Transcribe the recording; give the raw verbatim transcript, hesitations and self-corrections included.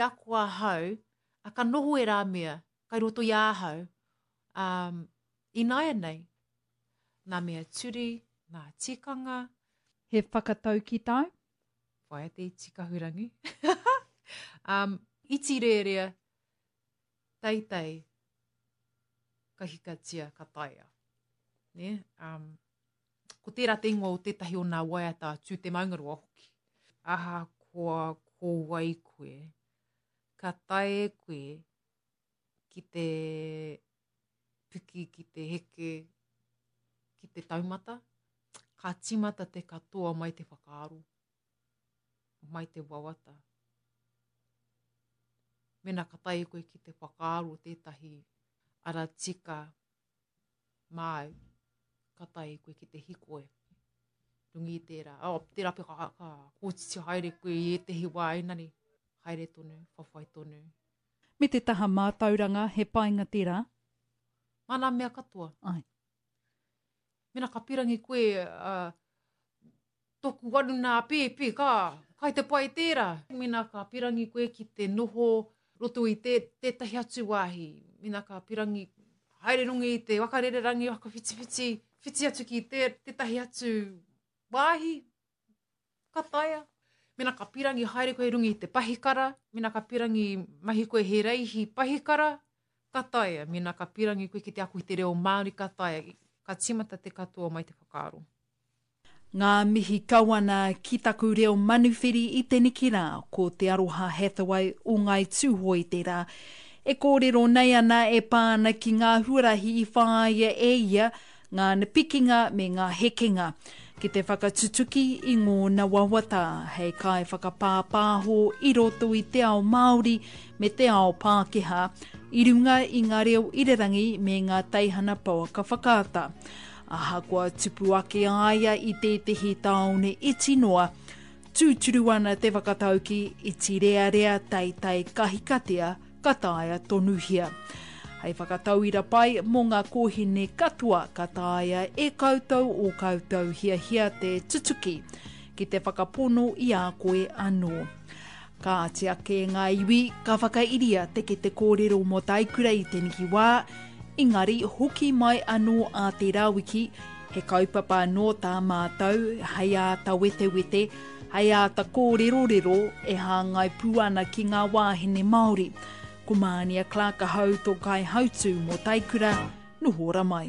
Ako ahau, a ka noho e rā mea, kai roto i ahau, um, ināianei, nā mea turi, nā tikanga. He whakatau ki tāu? Whaia te iti kahurangi. um, iti rērea, teitei, ka hikatia, ka taea. Ne? Um, ko tērā te ingoa o tētahi o nā waiata Tū Te Maungaroa hoki. Ahakoa ko wai koe, ka tae koe ki te piki, ki te heke, ki te taumata, ka tīmata te katoa mai te whakaaro, mai te wawata. Mena ka tae koe ki te whakaaro tētahi ara tika māu, ka tae koe ki te hikoe. Runga i tērā, oh, tērā pea ka, ka kōtiti haere koe i ētehi wā, engari, haere tonu, whawhai tonu. Me te taha mātauranga, he painga tērā? Mā nā mea katoa. Ai. Mena ka pirangi koe, uh, toku waru nā pēpi, ka, kai te pai tērā. Mena ka pirangi koe ki te noho roto i te, tētahi atu wāhi. Mena ka pirangi, haere runga i te wakarererangi, whakawhitiwhiti, whiti atu ki te, tētahi atu wāhi, ka taea. Mena ka pirangi haere koe runga i te pahikara, mena ka pirangi mahi koe he reihi pahikara, ka taea. Mena ka pirangi koe ki te ako i te reo Māori, ka taea. Ka tīmata te katoa mai te whakaaro. Ngā mihi kau ana ki taku reo manuwhiri i teneki rā, ko Te Aroha Hathaway o Ngāi Tūhoe tērā. E kōrero nei ana e pā ana ki ngā huarahi i whāia e ia, ngā pikinga me ngā hekenga, ki te whakatutuki i ngōna wawata hei kai whakapāpāho i roto i te ao Māori me te ao Pākehā, i runga i ngā reo irirangi me ngā teihana pouaka whakaata. Ahakoa tupu ake aia i tētehi tāone iti noa, tūturu ana te whakatauki iti rearea teitei kahikatea ka taea tonuhia. Hei whakatauira pai mō ngā kōhine katoa ka taea e koutou o koutou hiahia te tutuki ki te whakapono i a koe anō. Kāti ake ngā iwi ka whakairia te kete kōrero mō Taikura i teneki wā, engari hoki mai anō a te rāwiki, he kaupapa anō tā mātou hei āta wetewete, hei āta kōrerorero e hāngai pū ana ki ngā wāhine Māori. Ko Mānia Clark ahau tō kaihautū mō Taikura, noho ora mai.